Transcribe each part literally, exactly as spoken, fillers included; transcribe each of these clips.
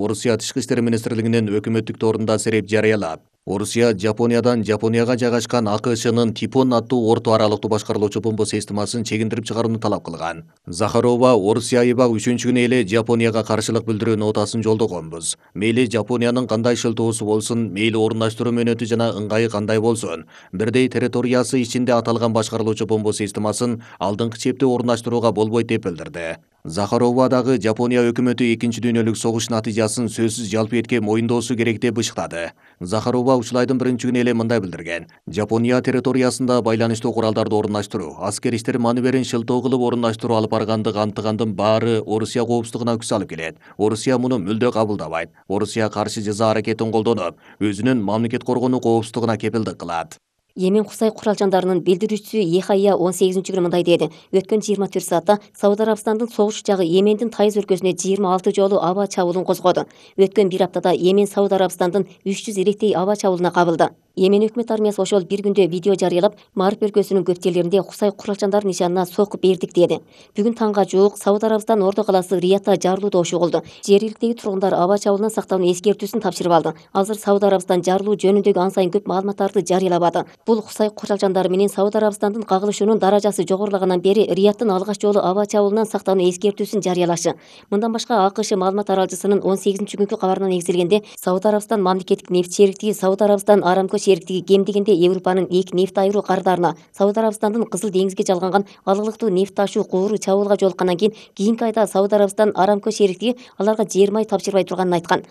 Орусия Тышкы иштер министрлигинин өкмөттүк торунда сереп жарыялап, Орусия Жапониядан Жапонияга жайгашкан А К Шнын Типон аттуу орто аралыктуу башкарылуучу бомба системасын чегиндирип чыгарууну талап кылган. Захарова Орусия айбак үчүнчү күнү эле Жапонияга каршылык билдирүү нотасын жолдогонбуз. Мейли Жапониянын кандай шылтоосу болсун, мейли орундаштыруу мөөнөтү жана ыңгайы кандай болсун, бирдей территориясы ичинде аталган башкарылуучу бомба системасын алдыңкы чепте орундаштырууга болбойт деп билдирди. Захарова дагы Жапония өкмөтү экинчи дүйнөлүк согуш натыйжасын сөзсүз жалпы этке моюндоосу керек деп ышыктады. Захарова ушул айдын биринчи күнү эле мындай билдирген: Жапония территориясында байланыштуу куралдарды орундаштыруу, аскер иштер маневрин шылтоо кылып орундаштыруу алып баргандык антыгандын баары Орусия коопсуздугуна күч алып келет. Орусия муну мүлдө кабылдабайт. Орусия каршы жаза аракетин колдонуп, өзүнүн мамлекет коргонуу коопсуздугуна кепилдик кылат. Йемен Кусай куралчандарынын билдирүүчүсү Ехайя он сегизинчи күнү мындай деди: өткөн жыйырма төрт саатта Сауд Арабстандын согуш учагы Йемендин Тайыз өлкөсүнө жыйырма алты жолу аба чабуулун козгоду. Өткөн бир аптада Йемен Сауд Арабстандын үч жүз иреттей аба чабуулуна кабылды. Йемен өкмөт армиясы ошол бир күндө видео жарыялап, Мариб өлкөсүнүн көп жерлеринде Кусай куралчандары нишанына сокуп бердик деди. Бүгүн таңга жуук Сауд Арабстан орто калаасы Риядта жарылуу добушу болду. Жергиликтеги тургундар аба чабуулунан сактоонун эскертүүсүн тапшырып алды. Азыр Сауд Арабстан жарылуу жөнүндөгү ан сайын көп маалыматтарды жарыялабады. Бул Кусай куралчандары менен Сауд Арабстандын кагылышуунун даражасы жогорулагандан бери Риядтын алгач жолу аба чабуулунан сактоонуу эскертүүсүн жарыялашы. Мындан башка А К Ш маалымат аралчысынын он сегизинчи күнкү кабарына негизделгенде, Сауд Арабстан мамлекеттик нефть шериктиги Сауд Арабстан Арамко шериктиги кем дегенде Европанын эки нефть айыруу кардарына Сауд Арабстандын Кызыл деңизге жалганган алыктуу нефть ташуу кууру чабуулга жолуккандан кийин кийинки айда Сауд Арабстан Арамко шериктиги аларга жер май тапшырбай турганын айткан.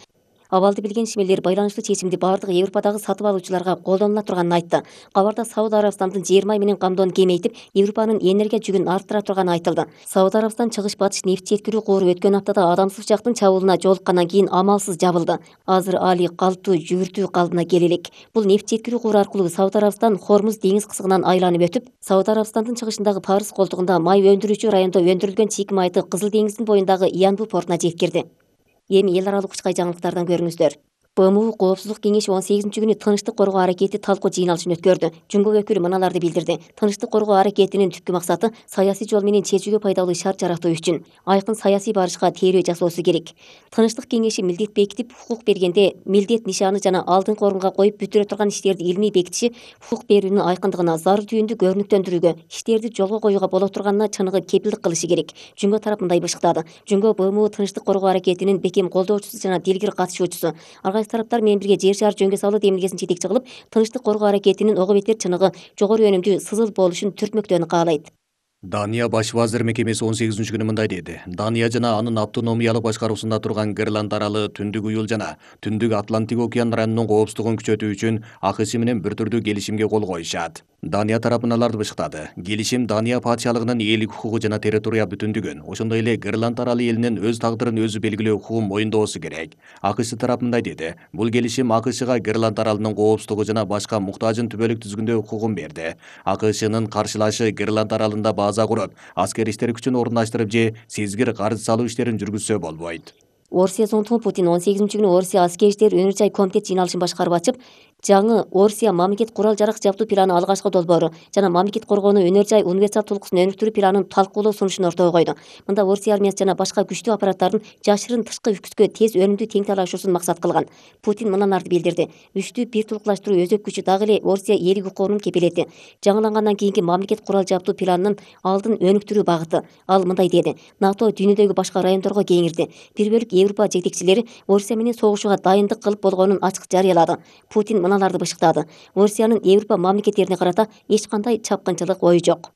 Абалды билген ишмерлер байланыштуу чечимди бардык Европадагы сатып алуучуларга колдонула турганын айтты. Кабарда Сауд Арабстандын жер май менен камдоону кеңейтип, Европанын энергия жүгүн арттыра турганы айтылды. Сауд Арабстан чыгыш батыш нефть жеткирүү кууру өткөн аптада адамсыз жактын чабуулуна жолуккандан кийин амалсыз жабылды. Азыр али калптуу жүгүртүү калыбына келе элек. Бул нефть жеткирүү кууру аркылуу Сауд Арабстан Хормуз деңиз кызыгынан айланып өтүп, Сауд Арабстандын чыгышындагы Парыз колтугунда май өндүрүүчү райондо өндүрүлгөн чийки майды Кызыл деңиздин боюндагы Янбу портуна жеткирди. Эми эл аралык учкай жаңылыктардан көрүңүздөр. Б М У Коопсуздук кеңеши он сегизинчи күнү тынчтык коргоо аракети талкуу жыйналышын өткөрдү. Жумгок өкүлү мыналарды билдирди: тынчтык коргоо аракетинин түпкү максаты саясий жол менен чечүүгө пайдалуу шарт жаратуу үчүн айкын саясий барышка тейлөө жасоосу керек. Тынчтык кеңеши милдет бекитип, хукук бергенде милдет нишаны жана алдыңкы орунга коюп бүтүрө турган иштерди илмий бекитиши хукук берүүнүн айкындыгына, зарыл түйүндү көрүнүктөндүрүүгө, иштерди жолго коюуга боло турганына чыныгы кепилдик кылышы керек. Жумго тарап мындай бышыктады: Жумго Б М У тынчтык коргоо аракетинин бекем колдоочусу жана дилгир катышуучусу. Ар тараптар менен бирге жер шаар жөнгө салуу демилгесин жетекчи кылып, тынчтык коргоо аракетинин ого бетер чыныгы, жогору өнүмдүү, сызыл болушун түртмөктөөнү каалайт. Дания баш вазир мекемеси он сегизинчи күнү мындай деди: Дания жана анын автономиялык башкаруусунда турган Гренланд аралы, Түндүк Уюл жана Түндүк Атлантик океан районунун коопсуздугун күчөтүү үчүн А К Ш менен бир түрдүү келишимге кол коюшат. Дания тарапы мыналарды бышыктады: келишим Дания патшалыгынын ээлик укугу жана территория бүтүндүгүн, ошондой эле Гренланд аралы элинин өз тагдырын өзү белгилөө укугун моюндоосу керек. А К Ш тарап мындай деди: бул келишим А К Шга Гренланд аралынын коопсуздугу жана башка муктажын түбөлүк түзгөндө укугун берди. А К Шнын каршылашы Гренланд аралында база куруп, аскер иштер күчүн орундаштырып же сезгир карыз салуу иштерин жүргүзсө болбойт. Орусия зонтугу Путин он сегизинчи күнү Орусия аскер иштер өнөр жай комитет жыйналышын башкарып ачып, жаңы Орусия мамлекет курал жарак жабдуу планы алгачкы долбоору жана мамлекет коргоонуу өнөр жай универсал толкусун өнүктүрүү планын талкуулоо сунушун ортого койду. Мында Орусия армиясы жана башка күчтүү аппараттардын жашырын тышкы үкүткө тез өнүмдүү тең талашуусун максат кылган. Путин мыналарды билдирди: үчтүү бир тулукташтыруу өзөк күчү дагы эле Орусия ээлик укугунун кепилети. Жаңылангандан кийинки мамлекет курал жабдуу планынын алдын өнүктүрүү багыты. Ал мындай деди: НАТО дүйнөдөгү башка райондорго кеңирди. Бир бөлүк Европа жетекчилери Орусия менен согушууга дайындык кылып болгонун ачык жарыялады. Путин мыналарды бышыктады: Орусиянын Европа мамлекеттерине карата эч кандай чапкынчылык ою жок.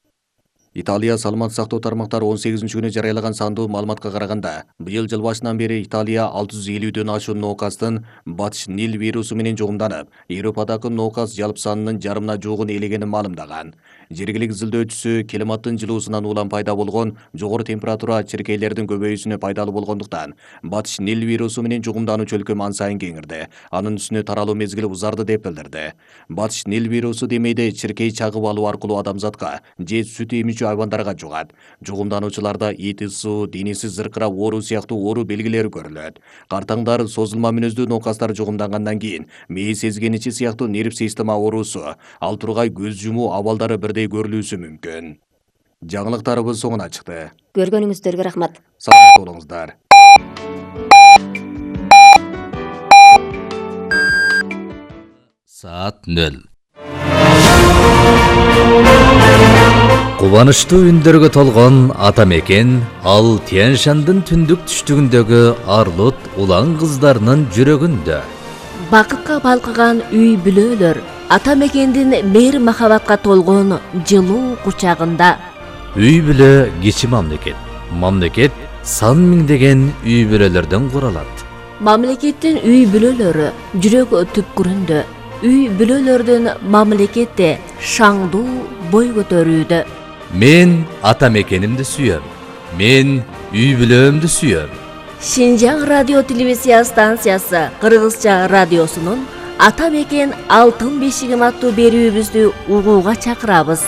Италия саламаттык сактоо тармактары он сегизинчи күнү жарыялаган сандуу маалыматка караганда, быйыл жыл башынан бери Италия алты жүз элүүдөн ашуун ноокастын батыш Нил вирусу менен жугумданып, Европадагы ноокас жалпы санынын жарымына жуугун ээлегенин маалымдаган. Жергиликтүү изилдөөчүсү климаттын жылуусунан улам пайда болгон жогору температура чиркейлердин көбөйүүсүнө пайдалуу болгондуктан, батыш Нил вирусу менен жугумдануучу өлкө ан сайын кеңирди. Анын үстүнө таралуу мезгили узарды деп билдирди. Батыш Нил вирусу демейде чиркей чагып алуу аркылуу адамзатка же сүт эмүүчү айбандарга жугат. Жугумдануучуларда ит ысуу, денеси зыркырап ооруу сыяктуу оору белгилери көрүлөт. Картаңдар, созулма мүнөздүү ноокастар жугумдангандан кийин мээ сезгеничи сыяктуу нерв система оорусу, ал тургай көз жумуу абалдары бирдей көрүлүүсү мүмкүн. Жаңылыктарыбыз соңуна чыкты. Көргөнүңүздөргө рахмат. Саламат болуңуздар. саат нөл. Кубанычтуу үндөргө толгон ата мекен ал Тянь-Шандын түндүк түштүгүндөгү Арлут улан кыздарынын жүрөгүндө. Бакытка балкыган үй бүлөлөр ата мекендин мээр махабатка толгон жылуу кучагында. Үй бүлө кичи мамлекет. Мамлекет сан миңдеген үй бүлөлөрдөн куралат. Мамлекеттин үй бүлөлөрү жүрөк түпкүрүндө. Үй бүлөлөрдүн мамлекетте шаңдуу бой көтөрүүдө. Мен ата мекенимди сүйөм. Мен үй бүлөмдү сүйөм. Шинжаң радио телевизия станциясы Кыргызча радиосунун Ата мекен алтын бешигим аттуу берүүбүздү угууга чакырабыз.